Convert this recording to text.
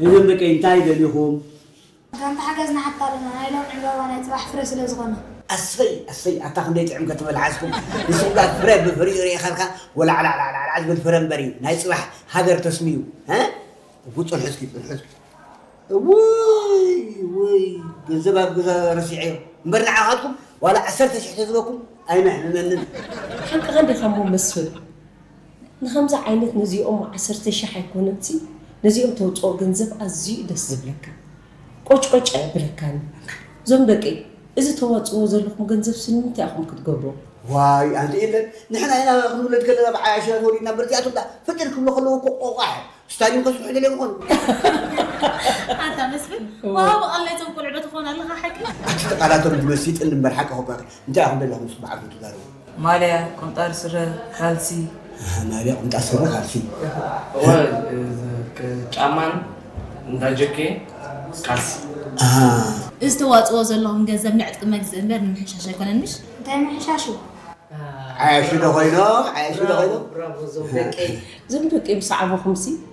እዞም ደቀይ እንታይ ደሊኹም? ጋንታ ሓገዝ ንሓታ ኣለና ናይ ሎም ዕምባባ ናይ ፅባሕ ፍረ ስለ ዝኾነ። ኣሰይ ኣሰይ ኣታ ክንደይ ጥዕም ከተበልዓዝኩም ንስምጋ ፍረ ብፍሪኡ ርኢኻልካ ወላዕላዕላዕላዕ ዝብል ፍረ እምበር እዩ ናይ ፅባሕ ሃገር ተስምዩ። ውፁን ሕዝኪ ፅንሕዝኪ ውይ ውይ ገንዘብ ኣብ ገዛ ረሲዐዮ እምበር ንዓኻትኩም ዋላ ዓሰርተ ሽሕ ተዝበኩም ኣይመሕምመንን። ሓቅኻ እንዲኻ እሞ መስፍን ንኸምዚ ዓይነት ነዚኦም ዓሰርተ ሽሕ ኣይኮነንሲ ነዚኦም ተውፅኦ ገንዘብ ኣዝዩ እዩ ደስ ዝብለካ ቆጭቆጭ ኣየብለካን እዞም ደቂ እዚ ተዋፅዎ ዘለኹም ገንዘብ ስንምንታይ ኢኹም ክትገብሮ ዋይ ኣንቲ የለን ንሕና ኢና ክንውለድ ከለና ብዓያሽና ተወሊድና በርዚኣቶም ዳ ፍጥር ክብሎ ከለዉ እኮ ቆቋሕ ስታዲዮም ከስርሑ ደልዮም ይኾኑ። ኣታ መስፍን ዋሃቢ ቃል ናይዞም ቆልዑ ዶ ትኾን ኣለኻ ሓቂ? ኣቲ ተቓላቶም ዝመሲጥን እምበር ሓቂ ኸቋቂ እንታይ ኢኹም ደለኹም ምስ በዓልኩም ትዛረቡ? ማልያ፣ ቁምጣ ስረ፣ ካልሲ። ማልያ፣ ቁምጣ ስረ፣ ካልሲ። ጫማን እንዳ ጀኬ ካልሲ። እዚ ተዋፅዎ ዘለኹም ገንዘብ ንዕጥቂ መግዝእ እምበር ንምሕሻሽ ኣይኮነን ምሽ? እንታይ ምሕሻሽ እዩ? ዓያሹ ዶ ኮይኖም ዓያሹ ዶ ኮይኖም እዞም ደቂ ምስ ዓበኹምሲ